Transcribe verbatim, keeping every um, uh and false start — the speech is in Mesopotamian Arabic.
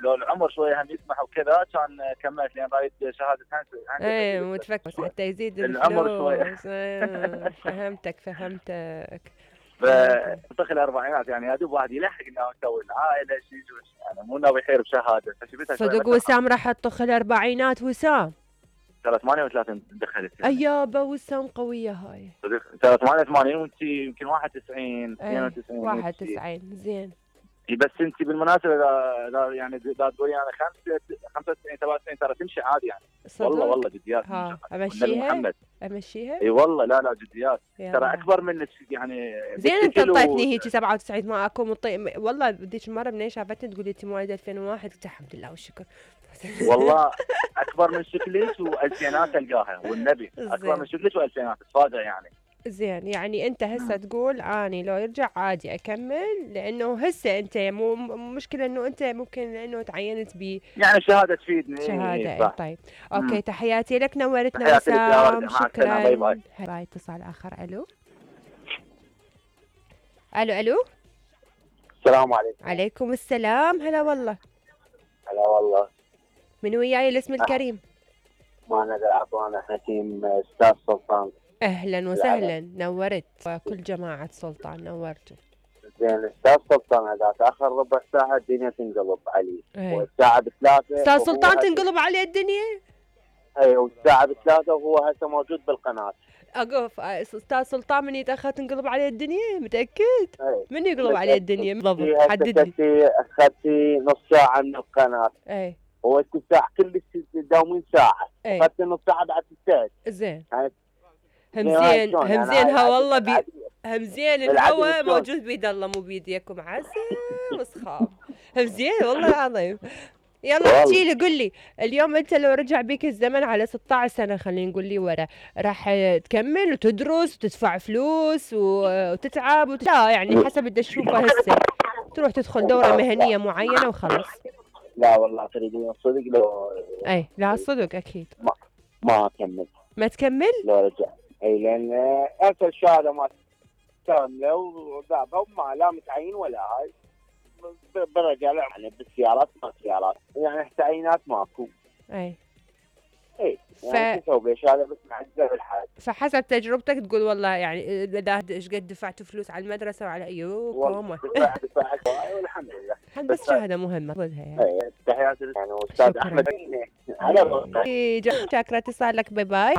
لو العمر شويه هم يسمح وكذا كان كملت، لان رايد شهاده هندسه. ايه متفكر حتى يزيد العمر شويه. الفلوس. ايه فهمتك فهمتك. فطخ الاربعينات يعني يا دوب واحد يلحق انه يسوي العائله شيء يعني مو ناوي يحير بشهاده. صدق وسام راح تطخ الاربعينات وسام؟ سنة ثمانية وثلاثين دخلت يعني. ايابا وسام قويه هاي. صدق سنة ثمانية وثمانين وانت يمكن واحد وتسعين اثنين وتسعين. واحد وتسعين زين. بس انت بالمناسبه اذا يعني اذا تقولي انا خمسة وتسعين سبعة وتسعين ترى تمشي عادي يعني. صدق؟ والله والله جديات. ها امشيها؟ محمد امشيها؟ اي والله لا لا جديات. ترى اكبر منك يعني. زين انت انطيتني هيك سبعة وتسعين ما اكو مطي... والله بديك المره منين شافتني تقولي انت مواليد ألفين وواحد قلت الحمد لله والشكر. والله اكبر من شكلك والفينات تلقاها والنبي اكبر من شكلك والفينات تفاجئ يعني. زين يعني انت هسه تقول اني لو يرجع عادي اكمل، لانه هسه انت مو مشكله انه انت ممكن لانه تعينت ب يعني شهاده تفيدني. شهاده اي طيب اوكي. مم. تحياتي لك نورتنا تحياتي وسام. شكرا. باي باي. باي. اتصال اخر. الو الو الو السلام عليكم. عليكم السلام. هلا والله. هلا والله. من وياي الاسم الكريم؟ ما ندر عطوانا حكيم استاذ سلطان. اهلا وسهلا نورت وكل جماعه سلطان نورتوا. زين استاذ سلطان اذا تاخر ربع ساعه الدنيا تنقلب علي. ايه. والساعه بثلاثه استاذ سلطان تنقلب عليه الدنيا؟ اي والساعه بثلاثه وهو هسه موجود بالقناه. اقف استاذ سلطان من يتاخر تنقلب عليه الدنيا؟ متاكد؟ ايه. من يقلب عليه الدنيا بالضبط؟ حدد لي. اخذتي نص ساعه من القناه. اي. هو الساعه كل تداومين ساعه. اخذت نص ساعه بعد تستاهل. زين. يعني همزين همزين ها والله بي همزين الهوا موجود بيد الله مو بيديكم. عسى وسخاف. همزين والله العظيم. يلا احكي لي قل لي اليوم انت لو رجع بيك الزمن على ستة عشر سنه خلينا نقول لي ورا، راح تكمل وتدرس وتدفع فلوس وتتعب وت... لا يعني حسب اللي تشوفه هسه تروح تدخل دوره مهنيه معينه وخلص؟ لا والله تريدين الصدق لو اي لا الصدق اكيد ما ما اكمل. ما تكمل؟ لو رجع اي لان ارسل الشهاده ما كامله وذابه وما لا متعين ولا هاي برجع يعني بالسيارات ما سيارات يعني تعيينات ماكو. اي اي يعني ف... تسوي شهاده بس معزه بالحال. فحسب تجربتك تقول والله يعني اذا ايش قد دفعتوا فلوس على المدرسه وعلى ايوكم دفع دفع والحمد لله. بس شهاده مهمه خذها يعني. اي تحياتي يعني استاذ احمد. شكرا اتصال لك. باي باي.